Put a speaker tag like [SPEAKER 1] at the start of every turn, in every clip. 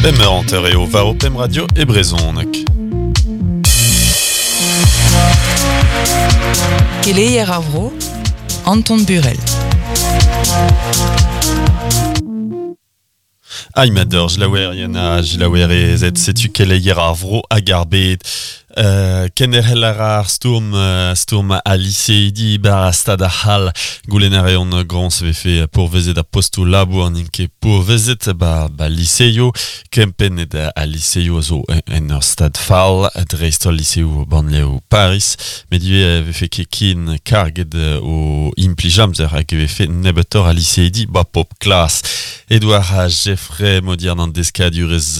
[SPEAKER 1] Pemp eur hanter eo war ho pemp radio e brezhoneg.
[SPEAKER 2] Keleier ar vro, Anton Burel.
[SPEAKER 1] Aimador, jilaouerien ha jilaouerezed, setu keleier ar vro hag ar bed. Kenderc'hel a ra ar stourm, stourm al liseidi bar ar stad ar c'hall. Goulenn a reont groñs vefe pourvezet ar postoù labour n'int ket pourvezet ba, ba liseioù. Kempennet al liseioù a zo en ur stad fall, dreist-holl liseoù bannlev Paris. Met ivez e vefe ket ken karget o implij amzer hag e vefe nebeutoc'h a liseidi ba pop klas. Edouard Geffray, modiern an deskadurezh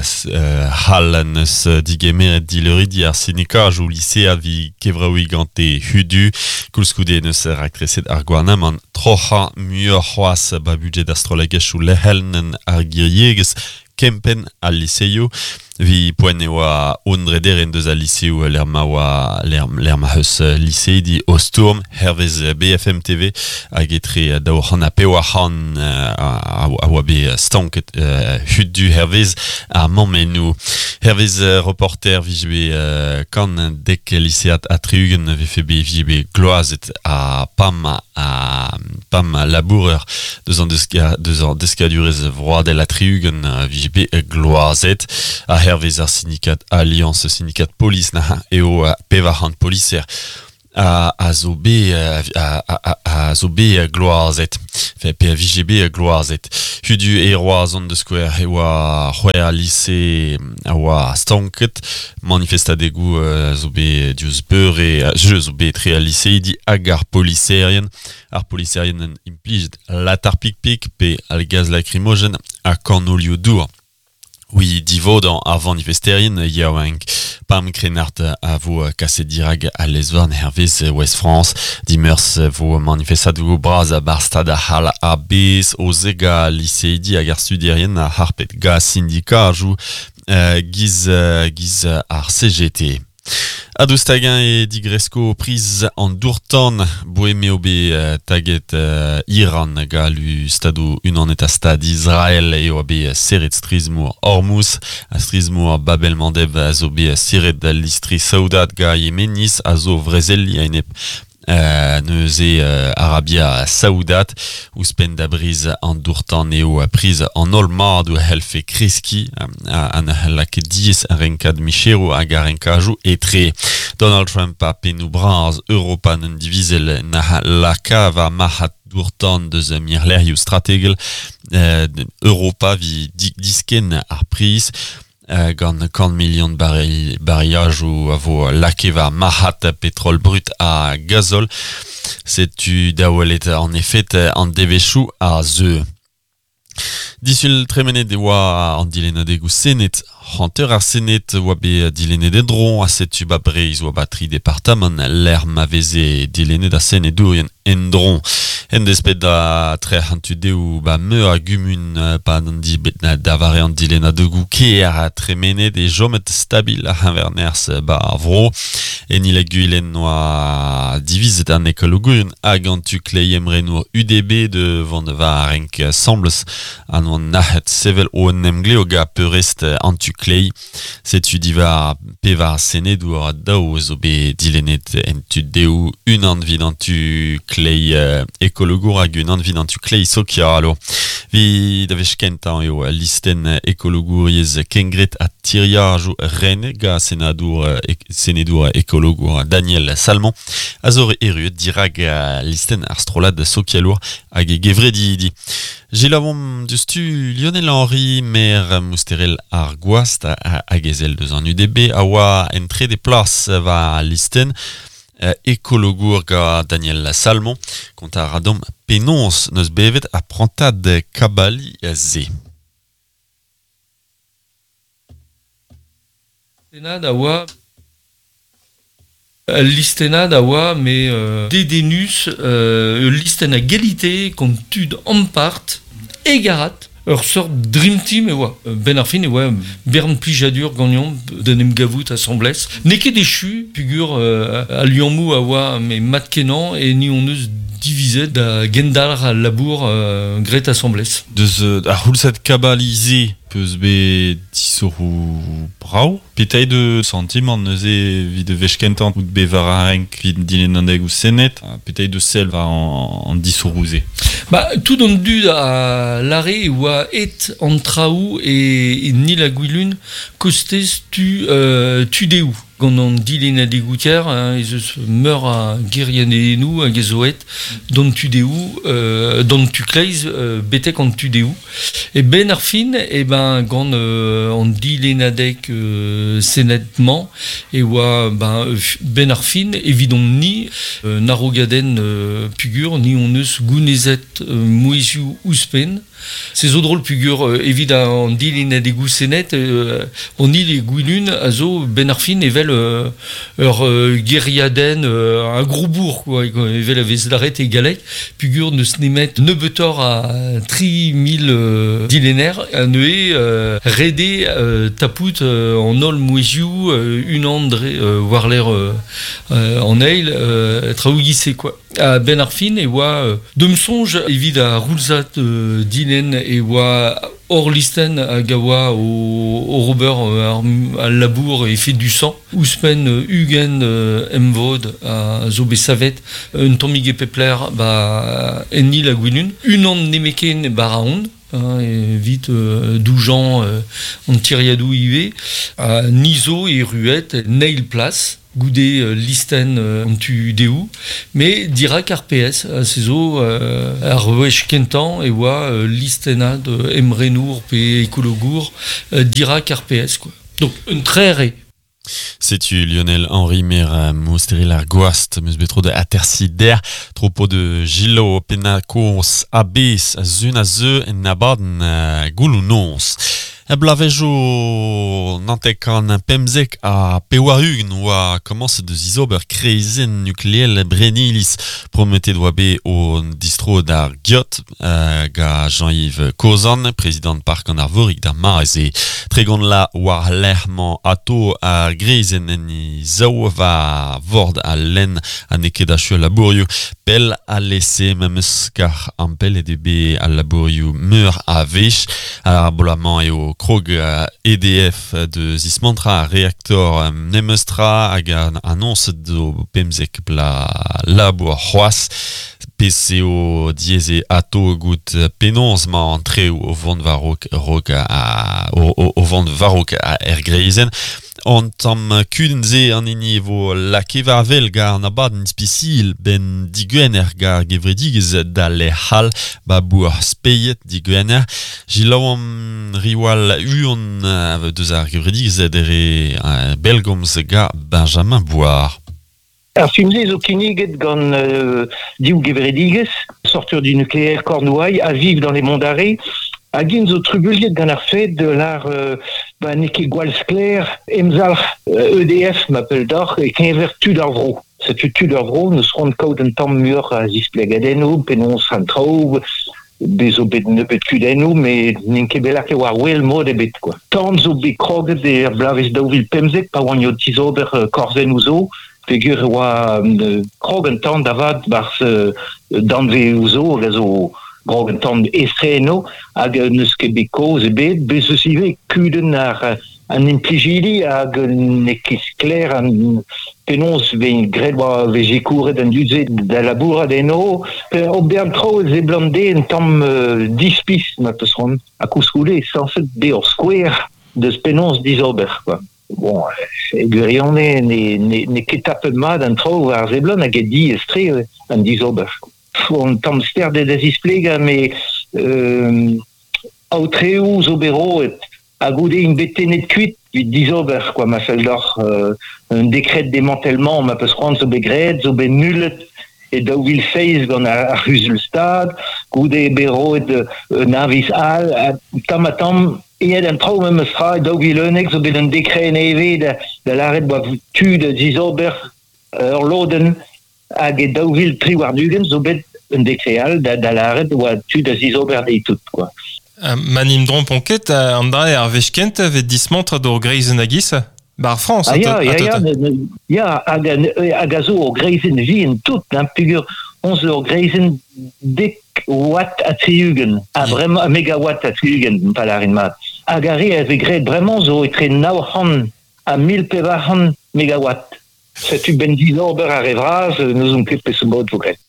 [SPEAKER 1] c'hall neus digemeret dileuridi ar sindikajoù lisead evit kevraouiñ gante hudu. Koulskoude neus raktreset ar gouarnamant troc'hañ muioc'h c'hoazh ba budjed ar strollegezhioù lec'hel ar giriegezh kempenn al liseioù. Evit poent e oa un drederenn deus al liseoù lec'h ma oa lec'h ma c'heus liseidi o stourm hervez BFM TV hag etre 200 ha 400 a oa bet stanket hudu hervez ar mammennoù. Hervez reporter vije bet kant dek lisead ha tri-ugent vefe bet vije bet gloazet ha pam ha pam labourer deus an deus an deskadurezh vroadel ha tri-ugent vije bet gloazet. Ha hervez ar sindikad Alliance Syndikat Polis na eo 400 poliser a zo bet a zo bet gloazet. Enfin, pe a vije bet gloazet. Hudu e Roazhon da skouer e oa c'hwec'h lise a oa stanket. Manifestadegoù zo bet diouzh beure, jeu zo bet etre al liseidi hag ar poliserien. Ar poliserien en implijet latar pik-pik pe al gaz lacrymogène ha kanolioù dour. Oui, divodañ ar vanifesterien yaouank. Pam Krennard a vo kaset dirak al lez-varn hervez Ouest France. Dimeurzh vo manifestadoù bras a-barzh stad ar c'hall a-bezh o zegas liseidi hag ar studierien a harpet gant sindikajoù giz, giz ar CGT. Ha daoust hag-eñ e digresko priz an dour-tan boe m'eo bet taget Iran gant lu Stadoù Unanet ha Stad Israel eo bet serret strizh-mor Hormuz ha strizh-mor Bab el-Mandeb a zo bet serret al listri saoudat gant Yemeniz a zo vrezeliñ a-enep neuze Arabia Saoudat. Ouzhpenn da briz an dour-tan eo priz an holl madoù a c'hellfe kreskiñ ha ne c'hella ket diaes ar renkad micheroù hag ar renkajoù etre. Donald Trump ha pennoù bras Europa n'en divizel na laka war marc'had dour-tan deus mirlec'hioù strategel Europa evit diskenn ar priz. Gant kant milion bariajoù a vo lakaet war marc'had petrol brut ha gazol. Setu da welet en efed an devezhioù a zeu. Disul tremenet e oa an dilennadegoù Sened. Hanter ar Sened oa bet dilennet en-dro ha setu ba Breizh oa ba tri departamant lec'h ma veze dilennet ar senedourien en-dro. En desped da trec'h an tu dehou ba meur a gumun pad an da vare an dilennadegoù kêr ha tremenet e chomet stabil ar c'heñver-nerzh ba ar vro. En Il-ha-Gwilen oa divizet an ekologourien hag an tu kleiz emrenour UDB de vont war ar renk asambles ha n'oant nac'het sevel o un emglev gant peurrest an tu kleiz. Setu diwar pevar senedour daou zo bet dilennet en tu dehou, unan evit an tu kleiz ekologour hag unan evit an tu kleiz sokialour. Evit da wech kentañ eo al listenn ekologouriezh kengred ha tiriajoù renet gant senadour, senedour ekologour Daniel Salmon a zo erruet dirak listenn ar strollad sokialour hag e gevredidi. Selaouomp diouzhtu Lionel Henry, maer Mousterel ar Gwast hag ezel deus an UDB, a oa en trede plas war al listenn ekologour gant Daniel Salmon. Kontañ a ra deomp penaos n'eus bevet ar prantad kabaliñ-se.
[SPEAKER 3] Listennad a oa Ul listennad a oa met dedennus, ul listenn a galite gant tud ampart, hegarat. Ur seurt dream team e oa. Benn ar fin e oa bern plijadur ganeomp d'en em gavout asambles. N'eo ket echu peogwir al liammoù a oa met mat-kenañ e ni hon eus divizet da gendalc'h al labour graet asambles.
[SPEAKER 1] Deus ar c'houlzad kabalize peus bet disoc'hoù brav. Petra eo da santimant neuze evit wech kentañ out bet war ar renk evit dilennadeg ouzh Sened? Petra eo da sell war an disoc'hoù-se?
[SPEAKER 3] Ba, tout an dud a lâre e oa aet an traoù e Nil-ha-Gwilun kostez tu tu dezho. Gant an dilennadegoù kêr ez eus meur a gêriadennoù hag ez zo aet d'an tu dehou, d'an tu kleiz betek an tu dehou. E benn ar fin, eh ben, gant an dilennadeg Sened-mañ e oa ben, benn ar fin evidomp-ni un arogadenn pugur, ni hon eus gounezet mouezhioù ouzhpenn. Se zo drol pugur evit an dilennadegoù Sened, an hil e Gwilun a zo benn ar fin evel ur gêriadenn, un gros bourg quoi, evel a vez lâret e galleg, pugur n'eus nemet nebeutoc'h a 3000 dilenner ha neuze ret eo tapout an holl mouezhioù unan dre war-lerc'h an eil traoù giz-se quoi. A-benn ar fin e oa d'am soñj evit ar c'houlzad dilenn e oa hor listenn hag a oa o ober al labour efedusañ. Ouzhpenn 20 emvod a zo bet savet un tammig e pep lec'h ba en Il-ha-Gwilun. Unan nemetken 'ba Raon evit doujañ an tiriadoù ivez. Ha ni zo erruet en eil plas. Goude listenn an tu dehou, met dirak ar PS, se zo ar wech kentañ e oa listennad emrenour pe ekologour dirak ar PS quoi. Donc un trec'h eo.
[SPEAKER 1] Setu Lionel Henry Mer Mousteril ar Gwast meus bet tro da atersiñ dec'h tro-po de Gillo Pennacours a-bezh a-zun a zeu en abadenn gouloù-noz. Er bloavezhioù 975 oa komañset da zizober kreizenn nukleel Brenniliz. Prometet oa bet o distro d'ar Giot ga Jean-Yves Kozan, prezidant Park an Arvorig d'ar mare-se. Tregont la war lec'h-mañ ato ar greizenn en he zaou war vord al lenn ha n'eo ket achu al labourioù. Pell alese memes kar ampellet eo bet al labourioù meur a wech. Ar bloaz-mañ eo krog EDF da zismantrañ ar reaktor memes tra hag annoñset zo 15 bloaz labour c'hoazh. Pezh eo diaes eo ato goût penaos 'mañ an traoù o vont war-raok raok o vont war-raok er greizenn. An tamm kudenn-se an hini e vo lakaet war wel gant an abadenn ispisial 'benn digwener gant ar gevredigezh da lec'h all 'ba bourc'h Speied digwener. Selaouomp Riwal Huon deus ar gevredigezh dre bellgomz gant Benjamin Bouard.
[SPEAKER 4] Ar film-se zo kinniget gant div gevredigezh, Sortir du nucléaire Cornouailles ha Vivre dans les Monts d'Arrée, hag int zo trubuilhet gant ar fed de lar ba n'eo ket gwall sklaer emzalc'h EDF ma pell deoc'h e-keñver tud ar vro. Setu tud ar vro n'eus c'hoant kaout un tamm muioc'h a zisplegadennoù penaos an traoù bez zo bet nebeut kudennoù met n'int ket bet lakaet war wel mod ebet quoi. Tan zo bet kroget er bloavezh 2015 pa oant o tizober korzennoù zo peogwir e oa krog an tan da vat 'barzh danvezoù zo hag a zo krog an tan estre eno hag n'eus ket bet kaoz ebet. Bez eus ivez kudenn ar an implijidi hag n'eo ket sklaer an penaos vez graet oa vez sikouret an dud-se da labourat eno. Ober an traoù e seblant dezhe un tamm dispis ma peus c'hoant. Ha koulskoude eo sañset bezañ ur skouer deus penaos dizober quoi. Bon, e gwirionez n'eo ket tapet mat an traoù war seblant hag eo diaes-tre an dizober. Un tamm sterdet da zisplegañ met aotreoù zo bet roet ha goude int bet tennet kuit evit dizober quoi ma fell deoc'h un décret démantèlement ma peus c'hoant zo bet graet zo bet nullet e 2007 gant ar c'huzul stad goude bet roet un aviz all tamm ha tamm aet an traoù memes tra e 2011 zo bet un décret nevez da lâret oa tu da zizober ur lodenn hag e 2023 zo bet un décret all da lâret oa tu da zizober dezhi tout quoi.
[SPEAKER 5] Ma n'im drompon ket an dra ar wech kentañ 'vez dismantret ur greizenn a-giz bar Frañs.
[SPEAKER 4] Ah ya, ya, ya, ya, hag a zo ur greizenn vihan tout, hein, peogwir On zo greizen dek watt a triugen, a bremañ a megawatt a triugen, palarin mat. Hag ar re a vez graet bremañ zo etre 900 ha 1400 megawatt. Setu ben dizober ar re vras, n'ouzon ket peseurt mod vo graet.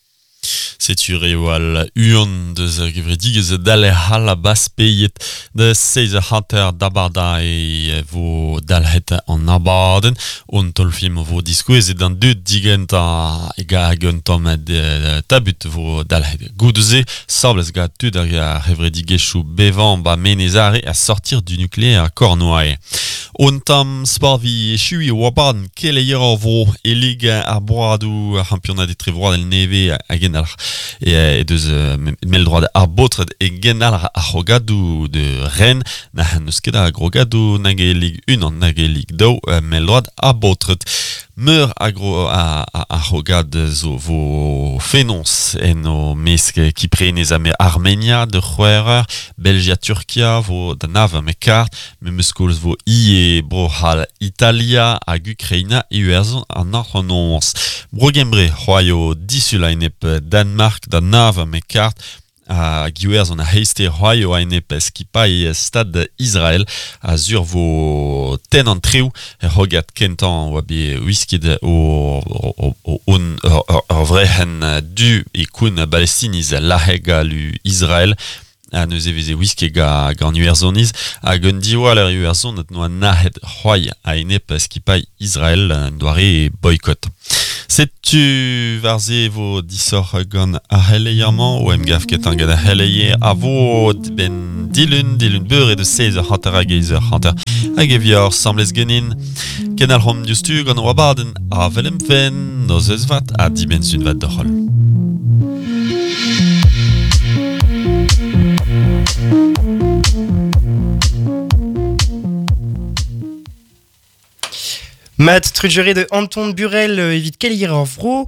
[SPEAKER 1] Setu reo al uan deus ar gevredigezh dale c'hall a baspeiet da 6h50 d'abarda e vo dalc'het an abadenn. On tolfilm vo diskouezet an dud digentañ e ga hag un tamm tabut vo dalc'het. Goude-se, sablez ga tud ar gevredigezhioù bevañ ba Menez Are a sortir du nucléaire Cornouaille. On tamm sport vi echui o abadenn keleier ar vro e lig ar broadoù ar championnat etrevroad el neve hag en ar e deus mell-droad ar baotred e genal ar c'hrogadoù de Rennes na n'eus ket ar grogadoù nag e Lig 1 nag e Lig 2 mell-droad ar baotred. Meur a gro a, a, a c'hrogad zo vo fenoz en o mesk Kiprenez ha Armenia de c'hwec'h Belgia Turkia vo da nav me kart memes koulz vo ie Bro-C'hall Italia hag Ukraina Iwerzhon an hanternoz. Bro-Gembre c'hoaio disul a-enep Danmark da nav me kart hag Iwerzhon a heiste c'hoaio a-enep skipailh Stad Israel a zur vo ten an treoù e c'hogad kentañ oa bet wisket o, o, o, on ur vrec'henn du e koun Palestiniz laheg lu Israel a neuze veze wiske ga gant Iwerzhoniz hag un diwall ar Iwerzhon noa nahet c'hoai a-enep skipailh Israel un doare boycott. Setu war se vo disoc'h gant ar c'heleier-mañ o emgav ket an gant ar c'heleier a vo ben dilun, dilun beure de 16h50 hag 8h50 hag e vior semblez genin. Ken al c'hom diouzhtu gant o abadenn a velem fen noz eus vat ha dibenn sun vat doc'hol.
[SPEAKER 6] Mat trujere de Anton Burel evit keleier ar vro,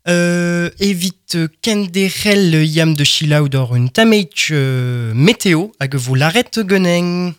[SPEAKER 6] evit kenderc'hel yam de chilaou d'or un tameich météo hag vo laret geneng.